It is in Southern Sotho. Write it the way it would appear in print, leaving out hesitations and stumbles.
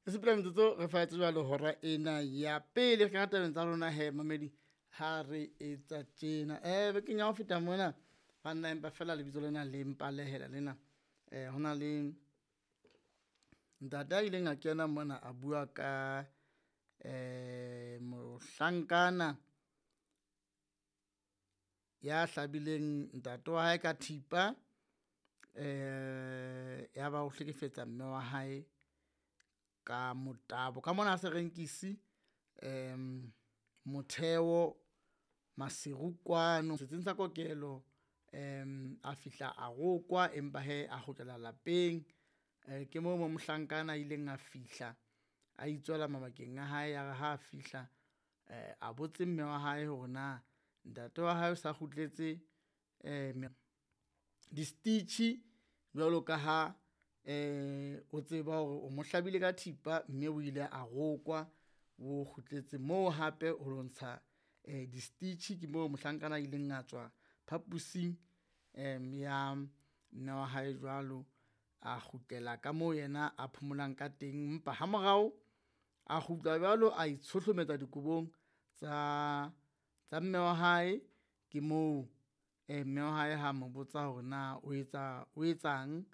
E sepela metsotso re faetse jwalo hora ena ya pele re kena tabeng tsa rona he mamedi ha re etsa tjena. Bekeng ya ho feta mona banna empa fela lebitso lena le mpalehela lena. Ho na le ntate a ileng a kena mona a bua ka mohlankana ya hlabileng ntate wa hae ka thipa, ya ba o hlekefetsa mme wa hae ka motabo ka mona Serenkisi Motheo Maseru kwano setsing sa kokelo. A fihla a rokwa, empa hee a kgutlela lapeng. Ke moo mo mohlankana a ileng a fihla a itswela mabakeng a hae, ya re ha a fihla a botse mme wa hae hore na ntate wa hae o sa kgutletse di-stitch jwalo ka ha o tseba hore o mo hlabile ka thipa mme o ile a rokwa. O kgutletse moo hape ho lo ntsha di-stitch ke moo mohlankana a ileng a tswa phapusing ya mme wa hae jwalo. A kgutlela ka moo yena a phomolang ka teng, empa ha morao a kgutla jwalo a itshohlometsa dikobong tsa tsa mme wa hae. Ke moo mme wa hae ha mo botsa hore na o etsa o etsang.